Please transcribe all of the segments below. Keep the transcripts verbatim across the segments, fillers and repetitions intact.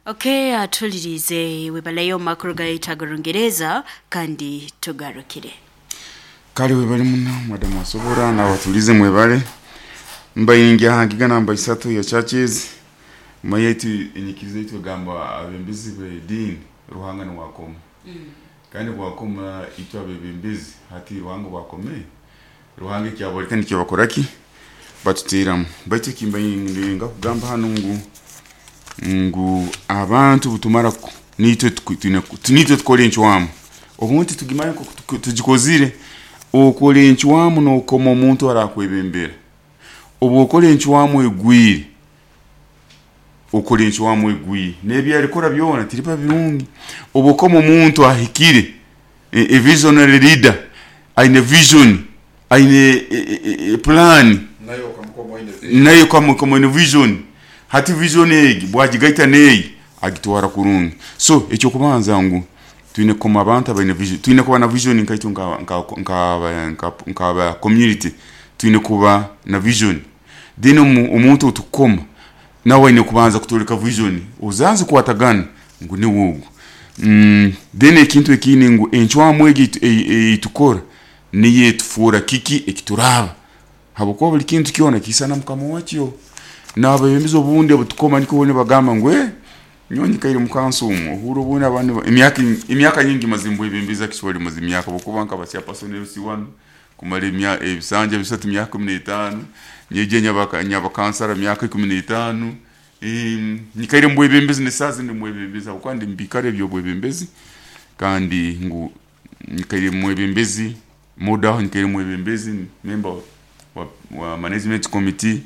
Okay, atulirize webaleyo makuru gaitu ag'Orungereza kandi tugarukire. Kale webale muno madamu asobora nabatulize mwebale mbayingi ahangiga namba isatu ya churches mayetu enyikiriza yaitu egamba abembezi b'ediini Ruhanga niwakoma kandi bwakoma itwe abebembezi hati Ruhanga bwakome Ruhanga ekyaboleka nikyo bakoraki batuteramu. Baitu ekimbayinga kugamba hanu ngu ngu abantu butumara ku- nitwe tuku- twine ku- nitwe tukora encwamu obundi tugimanye nkoku tuku- tugikozire. Okora encwamu nokoma omuntu arakwebembera. Obu okora encwamu egwire, okora encwamu egwire n'ebyarikora byona tiriba birungi. Obu okoma omuntu ahikire, e, e visionary leader aine vision, aine e, e, e, plan, nayo okamukoma oine vision. Nayo kamukoma aine vision. Hati vision egi bwagigaita neyi agitwara kurungi. So ekyokubanza ngu twine kukoma abantu abaine vision, twine kuba na vision nkaitu nka nka nka nka nka community, twine kuba na vision. Then omu- omuntu otukukoma nawe aine kubanza kutoleka vision ozanze kukwatagana ngu niwe ogu. mm, then ekintu ekindi ngu encwamu egi eitukora niyo etufuura kiki ekituraba, habwokuba buli kintu kyona kiisana mukama wakyo. N'abebembezi obundi obutukoma nikwo nibagamba ngu eh nyowe nyikaire mu kanso omu ohurra obundi abandi ba- emyaka emyaka nyingi maze mbwebembezi, actually maze emyaka habwokuba nkaba chairperson L C one kumara emya ebisanja bisatu myaka ikumi n'etaano, nyije nyaba nyaba kansara myaka ikumi n'etaano. Em, nyikaire mbwebembezi nesaazi ndi mwebembezi habwokuba ndi mubikaro ebyobwebembezi kandi ngu nyikaire mwebembezi mudaho, nyikaire mwebembezi member wa, wa management committee,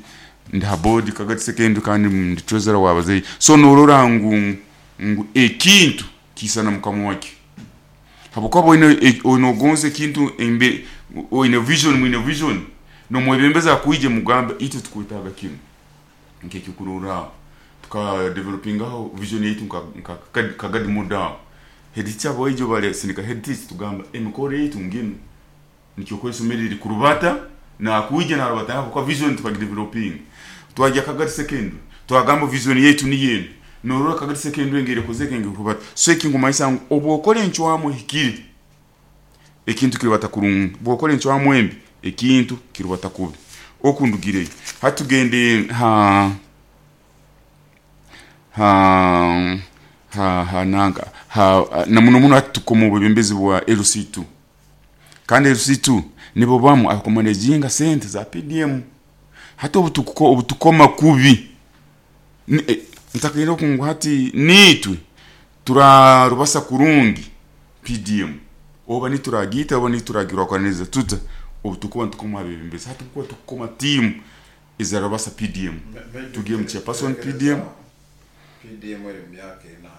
ndi ha board Kagadi Secondary kandi ndi treasurer w'abazeyi. So norora ngu ngu ekintu kiisana mukama wakyo habwokuba oine e- onogonza ekintu embe oine vision, mwine vision nomwebembezi akwije mugambe itwe tukwetaaga kinu. Nk'ekyokurorraho tuka developingaho vision yaitu nka nka Kagadi- kagadi mudaho head teacher bwaijo bale sindika head teacher tugamba emikoro yaitu nginu nikyo isomero riri kurubata nakwija narubata habwokuba vision tukagidevelopinga. Twajya Kagadi Secondary twagamba vision yaitu niyo enu. Norora Kagadi Secondary engeri ekozeke engeri kurubata. So ekingumanyisa ngu obu okora encwamu ehikire ekintu kirubata kurungi, bwokora encwamu embi ekintu kirubata kubi. Okundugireyo hati tugende ha ha ha ha nanka ha na muno muno hati tukoma obwebembezi bwa L C two kandi L C two nibo bamu abakumanaginga sente za P D M. Hati obutukuko obutukoma kubi Ni- eh, ntakaire okungu hati nitwe turarubasa kurungi P D M oba nituragiita oba nituragirwakaniriza tuta obutukuba nitukoma abebembezi. Hati kuba tukukoma tiimu ezarabasa P D M tugiye mu chairperson P D M. P D M eri mu myaka ena.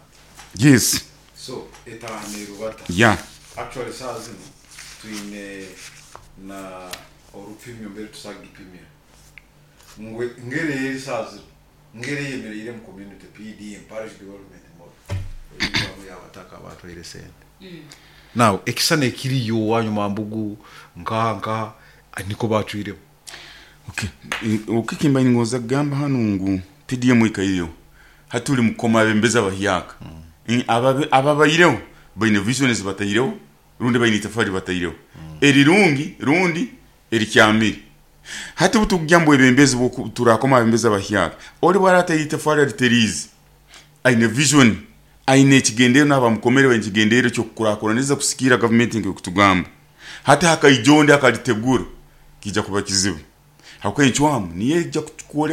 Yes. So etaano erubata. Yeah. Actually saa zino twine na orupimyo mbere tusagipimira ngwe ngere eri saa zino ngere yemereire mu community. P D M, parish development model, erivamu yabataka batwaire sente. Now ekisana ekiriyo wanyuma mbugu nkaha nkaha niko bacwiremu. Okay. Okikimba ningoza kugamba hanu ngu P D M ikaireho hati tuli mukoma abembezi abahyaka. Mm. Ababe- ababaireho baine vision zibataireho rundi baine itafari bataireho erirungi rundi erikyamire. Hati butugya mbu ebembezi boku- turakoma abembezi abahyaka oli bwarataire itafari ariteriize aine vision, aine ekigendero n'abamukomere baine ekigendero kyokukurakuraniriza kusikiira gavumenti nk'ekutugamba. Hati hakaija ondi akalitegura kijja kuba kizibu habwokuba encwamu niyo ejja kukwoleka.